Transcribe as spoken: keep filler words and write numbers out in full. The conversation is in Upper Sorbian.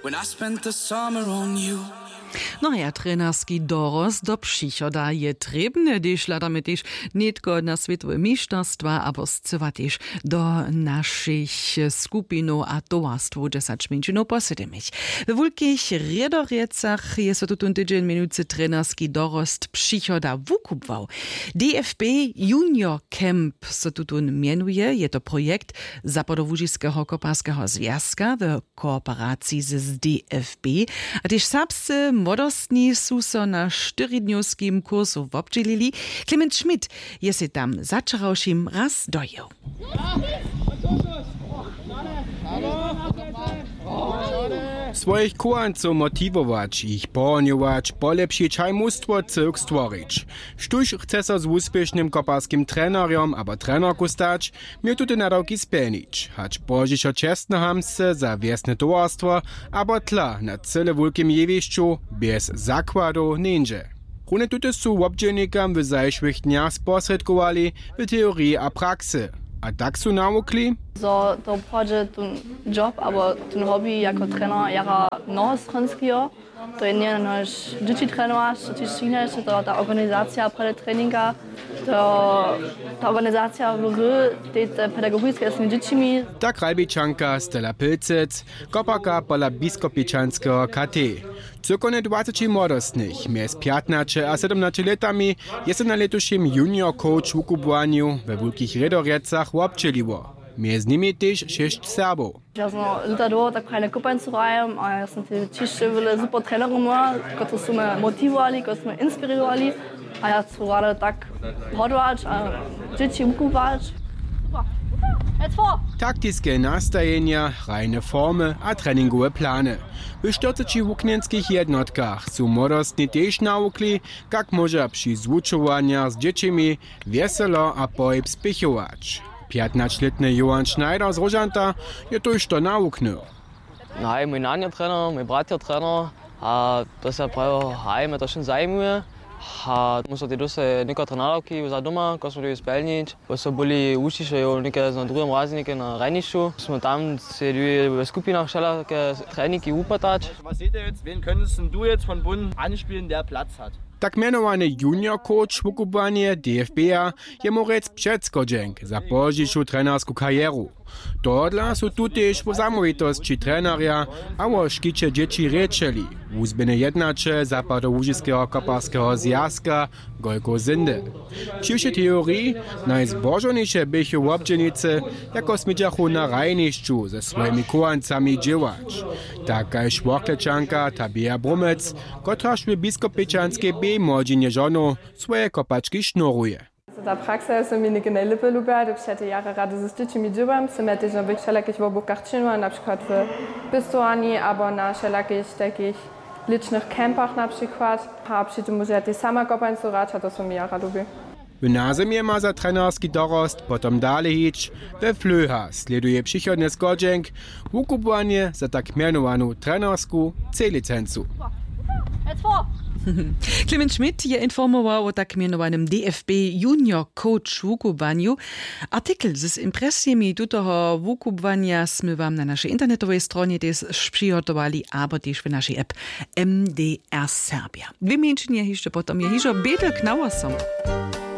When I spent the summer on you. No a trenerski dorost do přichoda je trěbny, hdyž hladamy tež nětko na swětowe mišterstwa abo scyła tež do našich skupinow a towarstwow dźesać mjeńšinow po sydomich. We wulkich rědorjecach je so tutón tydźeń měnujcy trenerski dorost přichoda wukubłał. D F B Junior Camp so tutón mjenuje. Je to projekt Zapadołužiskeho koparskeho zwjazka w kooperaciji z D F B. A tež serbscy młodostni su so na štyridnjowskim kursu wobdźělili. Clement Schmidt je sej tam za wčerawšim raz dojěł. Swojich chowancow motiwować, jich pohonjować, polepšić haj mustwo cyłk stworić. Štóž chce so z wuspěšnym koparskim trenerjom abo trenerku stać, měł tute nadawki spjelnić, hač pozdźišo čestnohamtsce za wjesne towarstwo abo tla na cyle wulkim jewišću bjez zakładow njeńdźe. Runje tute su wobdźělnikam w zašłych dnjach sposrědkowali w teoriji a praksy. A tak su nawukli, zo to pohdźe tón job abo tón hobby jako trener jara mnohostronskeho. To je njeje nož dźěći trenować, to tež činješ, to ta organizacija prjedy treninga, to ta organizacija w ry, te, te pedagogiske z tymi dźěćimi. Tak Ralbičanka Stella Pilcec, koparka pola biskopičanskeho K T. Cyłkownje dwaceći młodostnych mjez pjatnaće a sydomnaće lětami je so na lětušim junior coach wukubłanju we wulkich rědorjecach wobdźěliło. Mjez nimi tež šěsć Serbow. Ja sam lěta dołho tak prajne kopańcu hrajam a ja sam te ćišće wjele super trenerow měła, kotrež su mje motiwowali, kotrež su mje inspirowali. A ja chcu rady tak hodłać a dźěći wukubłać. Taktiske nastajenja, hrajne formy a treningowe plany. W štyrceći wuknjenskich jednotkach su młodostni tež nawukli, kak móža při zwučowanjach z dźěćimi wjeselo a pohyb spěchować. Pjatnaćlětny Johan Schneider z Róžanta je tójšto nawuknył. No haj, mój nan je trener, mój brat je trener. A to se prajo, haj, mje to wšón zajimuje. A móhł so tej dósć někotre nadawki za doma, ko smy dyrbi spjelnić, bo so byli wučiše jo něke na druhim razje něke na hrajnišću, smy tam sej dyrbi we skupinach wšelake treningi wupytać. Was seht ihr jetzt? Wen könntest denn du jetzt von Bund anspielen, der Platz hat? Tak mjenowany junior coach wukubłanje D F B-a je mórec předschodźenk za pozdźišu trenersku karjeru. Tohodla su tu tež wo zamołwitosći trenerja a wo škiće dźěći rěčeli wuzběhny jednaćel zapadołužiskeho koparskeho zwjazka Gojko Sindel. Při wšej teoriji najzbožowniše běchu wobdźělnicy, jako smědźachu na hrajnišću ze swojimi chowancami dźěłać. Tak kaž Worklečanka Tabea Brumec, kotraž w biskopečanskej B młodźinje žonow swoje kopački šnuruje. Ta praksa je so mi něke najlěpje lubja, hdyž ja te jara rady z dźěćimi dźěłam, sym ja tež na wšelakich wobłukach činila, na přikład w pěstowarni abo na wšelakich takich lěćnych campach na přikład. A při tym móžu ja tež sama kopańcu hrać a to so mi jara lubi. W nazymje ma za trenerski dorost potom dale hić. We Flöha slěduje přichodnje schodźenk wukubłanje za tak mjenowanu trenersku C-licencu. Clement Schmidt je informował wo tak mjenowanym D F B Junior Coach wukubłanju. Artikel z impresijemi tutoho wukubłanja smy wam na našej internetowej stronje tež přihotowali abo tež w našej app M D R Serbia. Dwě mjeńšinje hišće potom je hižo Bědl k nawosom.